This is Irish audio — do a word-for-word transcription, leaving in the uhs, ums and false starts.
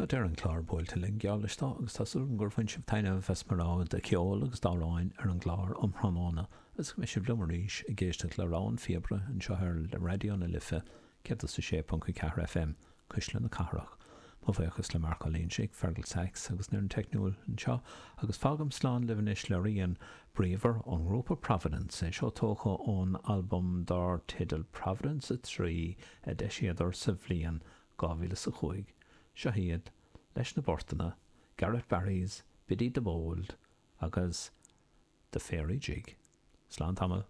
Tá deireadh an chláir buailte linn geall leis agus tá súil gur bhain sibh taitneamh as mo rogha de cheol agus d'amhráin ar an gclár um thráthnóna agus go mbeidh sibh liom arís ag éisteacht le Rogha an Phíobaire anseo ar le Raidió na Life céad a sé ponc a ceathair FM Cuisle na Cathrach. Mo bhuíochas le Marc Ó Loingsigh, Fergal Sachs agus an fhoireann teicniúil anseo agus fágaim slán libh anois le rian bríomhar ón ngrúpa Providence é seo tógtha ón albam dar teideal Providence a trí a d'eisíodar sa bhliain dhá mhíle a cúig. Seo iad leis na portanna, Garrett Barry's, Biddy the Bold agus The Fairy Jig. Slán tamall.